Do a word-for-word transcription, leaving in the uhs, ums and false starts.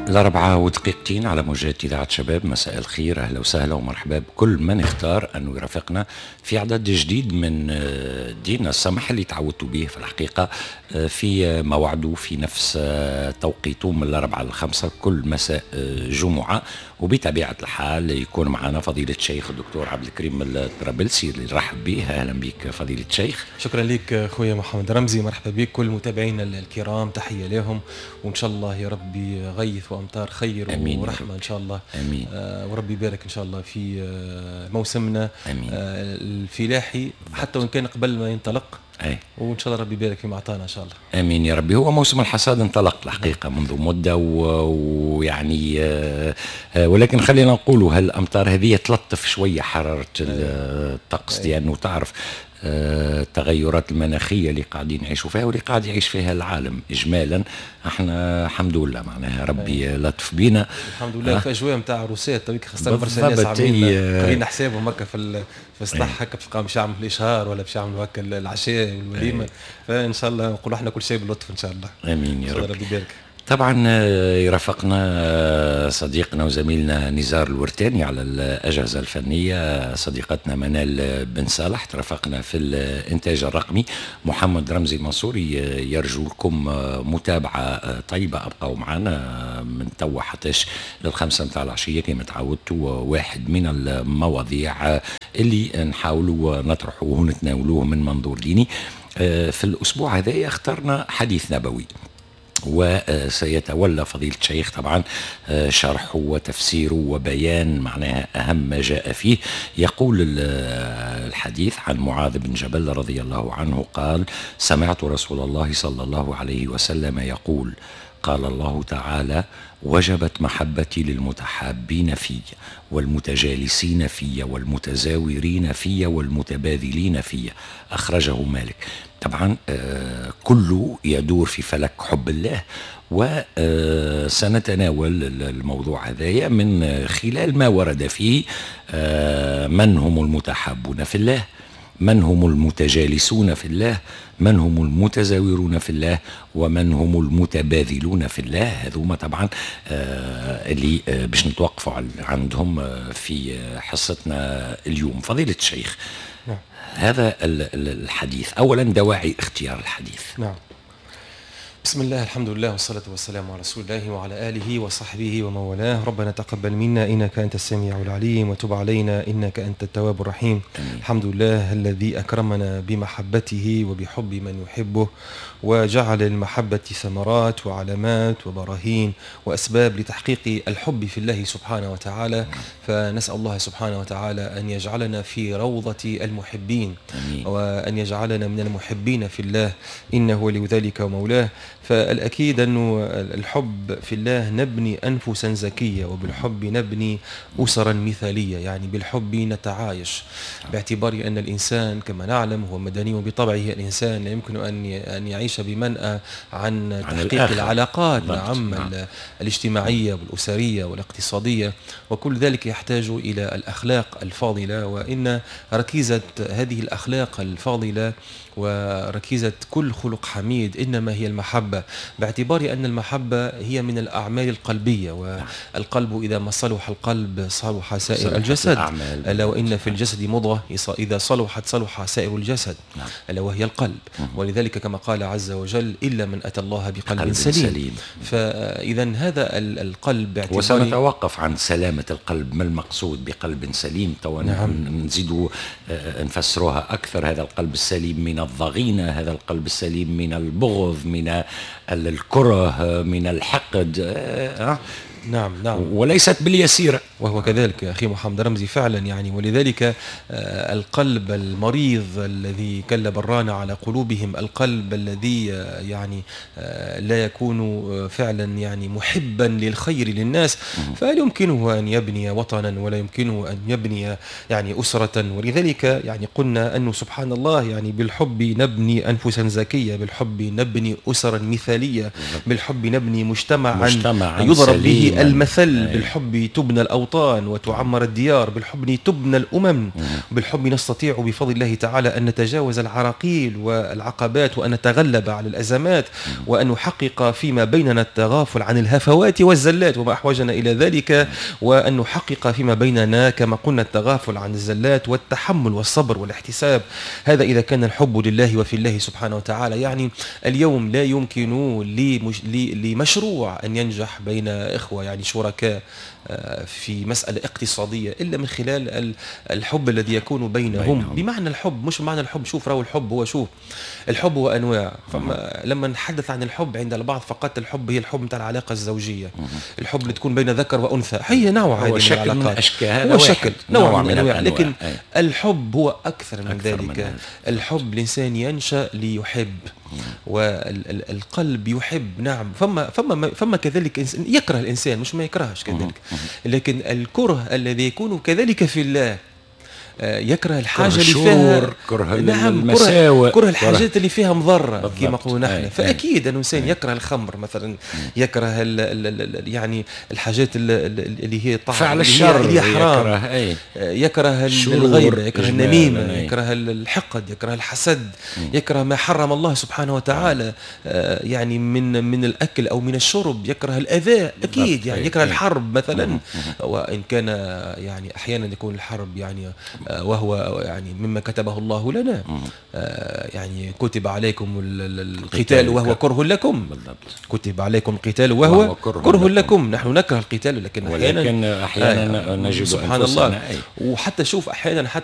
الأربعة ودقيقتين على موجات إذاعة شباب. مساء الخير، أهلا وسهلا ومرحبا بكل من اختار أنه يرافقنا في عدد جديد من ديننا السمح اللي تعودتوا به في الحقيقة في موعده في نفس توقيته من الأربعة للخمسة كل مساء جمعة. وبطبيعة الحال يكون معنا فضيلة الشيخ الدكتور عبد الكريم الطرابلسي اللي نرحب به. أهلا بك فضيلة الشيخ. شكرا لك خويا محمد رمزي، مرحبا بك كل متابعينا الكرام، تحية لهم وإن شاء الله يا ربي غيث وأمطار خير أمين ورحمة إن شاء الله. أمين. آه وربي يبارك إن شاء الله في آه موسمنا أمين. آه الفلاحي حتى وإن كان قبل ما ينطلق. أي. وإن شاء الله ربي يبارك فيما أعطانا إن شاء الله. آمين يا ربي. هو موسم الحصاد انطلق الحقيقة منذ مدة ويعني آه ولكن خلينا نقولوا هالأمطار هذه تلطف شوية حرارة الطقس، لأنه تعرف التغيرات المناخية اللي قاعدين نعيشوا فيها واللي قاعد يعيش فيها العالم إجمالا. احنا الحمد لله معناها ربي لطف بينا الحمد لله. في أجواء نتاع عروسات تويك خاصة برشا ناس عاملين قارين حسابهم هكا في في السطح هكا باش باش يعملوا الإشهار ولا باش يعملوا هكا العشاء والوليمة. فإن شاء الله نقولوا احنا كل شيء باللطف إن شاء الله. آمين يا رب. ربي يبارك. طبعا يرافقنا صديقنا وزميلنا نزار الورتاني على الأجهزة الفنية، صديقتنا منال بن صالح ترافقنا في الإنتاج الرقمي، محمد رمزي منصوري. يرجو لكم متابعة طيبة، أبقوا معنا من توا حتىش للخمسة متاع العشية كما تعودتوا. واحد من المواضيع اللي نحاولوا نطرحوه ونتناولوه من منظور ديني. في الأسبوع هذا اخترنا حديث نبوي، وسيتولى فضيلة الشيخ طبعا شرحه وتفسيره وبيان معناها أهم ما جاء فيه. يقول الحديث عن معاذ بن جبل رضي الله عنه قال: سمعت رسول الله صلى الله عليه وسلم يقول: قال الله تعالى: وجبت محبتي للمتحابين في والمتجالسين في والمتزاورين في والمتباذلين في. أخرجه مالك. طبعا كله يدور في فلك حب الله، وسنتناول الموضوع هذايا من خلال ما ورد فيه. من هم المتحابون في الله؟ من هم المتجالسون في الله؟ من هم المتزاورون في الله؟ ومن هم المتباذلون في الله؟ هذوما طبعا اللي باش نتوقفوا عندهم في حصتنا اليوم. فضيلة الشيخ، نعم. هذا الحديث أولا دواعي اختيار الحديث. نعم. بسم الله، الحمد لله، والصلاة والسلام على رسول الله وعلى آله وصحبه ومن والاه. ربنا تقبل منا إنك أنت السميع العليم، وتب علينا إنك أنت التواب الرحيم. أمين. الحمد لله الذي أكرمنا بمحبته وبحب من يحبه، وجعل المحبة ثمرات وعلامات وبراهين وأسباب لتحقيق الحب في الله سبحانه وتعالى. فنسأل الله سبحانه وتعالى أن يجعلنا في روضة المحبين. أمين. وأن يجعلنا من المحبين في الله، إنه ولي ذلك ومولاه. فالأكيد أنه الحب في الله نبني أنفسا زكية، وبالحب نبني أسرا مثالية، يعني بالحب نتعايش، باعتبار أن الإنسان كما نعلم هو مدني بطبعه. الإنسان لا يمكن أن أن يعيش بمنأى عن تحقيق عن العلاقات نعم نعم. الاجتماعية والأسرية والاقتصادية، وكل ذلك يحتاج إلى الأخلاق الفاضلة. وإن ركيزة هذه الأخلاق الفاضلة وركيزة كل خلق حميد إنما هي المحبة، باعتبار أن المحبة هي من الأعمال القلبية، والقلب إذا ما صلح القلب صلح سائر الجسد. ألا وإن في الجسد مضغة إذا صلحت صلح سائر الجسد، ألا وهي القلب. ولذلك كما قال عز وجل: إلا من أتى الله بقلب سليم, سليم. فإذا هذا القلب باعتبار، وسنتوقف عن سلامة القلب، ما المقصود بقلب سليم؟ تو نعم. نزيد نفسروها أكثر. هذا القلب السليم من الضغينة، هذا القلب السليم من البغض، من الكره، من الحقد. أه؟ نعم نعم، وليست باليسيرة. وهو كذلك أخي محمد رمزي فعلا يعني. ولذلك القلب المريض الذي كل بران على قلوبهم، القلب الذي يعني لا يكون فعلا يعني محبا للخير للناس، فلا يمكنه أن يبني وطنا ولا يمكنه أن يبني يعني أسرة. ولذلك يعني قلنا أنه سبحان الله يعني بالحب نبني أنفسا زكية، بالحب نبني أسرا مثالية، بالحب نبني مجتمعا, مجتمعا يضرب به يعني المثل بالحب تبنى الأوطان وتعمر الديار، بالحب تبنى الأمم، بالحب نستطيع بفضل الله تعالى أن نتجاوز العراقيل والعقبات وأن نتغلب على الأزمات وأن نحقق فيما بيننا التغافل عن الهفوات والزلات وما أحوجنا إلى ذلك، وأن نحقق فيما بيننا كما قلنا التغافل عن الزلات والتحمل والصبر والاحتساب. هذا إذا كان الحب لله وفي الله سبحانه وتعالى. يعني اليوم لا يمكن لمشروع أن ينجح بين إخوة يعني شركاء في مسألة اقتصادية إلا من خلال الحب الذي يكون بينهم, بينهم. بمعنى الحب، مش معنى الحب، شوف راهو الحب هو، شوف الحب هو أنواع. فما لما نتحدث عن الحب عند البعض فقط الحب هي الحب نتاع العلاقة الزوجية، الحب اللي تكون بين ذكر وأنثى، هي نوع هو شكل من أشكال، هو شكل نوع, نوع من الأنواع، لكن أي. الحب هو أكثر من أكثر ذلك. من الحب الإنسان ينشأ ليحب، والقلب يحب. نعم، فما فما فما كذلك يكره الانسان، مش ما يكرهش كذلك، لكن الكره الذي يكون كذلك في الله، يكره الحاجة اللي فيها كره، نعم، المساوئ، كره الحاجات اللي فيها مضرة كما نقولوا نحن. فاكيد انه الانسان يكره الخمر مثلا، يكره ال ال ال يعني الحاجات اللي هي طعم فعل الشر اللي هي حرام، يكره, أي. يكره الغيبه، يكره النميمه، يكره الحقد، يكره الحسد، يكره ما حرم الله سبحانه وتعالى يعني من من الاكل او من الشرب، يكره الاذى اكيد، يعني يكره الحرب مثلا، وان كان يعني احيانا يكون الحرب يعني وهو يعني مما كتبه الله لنا، يعني كتب عليكم القتال وهو كره لكم. بالضبط. كتب عليكم القتال وهو, وهو كره, كره لكم. لكم. نحن نكره القتال، لكن احيانا ولكن احيانا نجد سبحان الله. أي. وحتى شوف احيانا حتى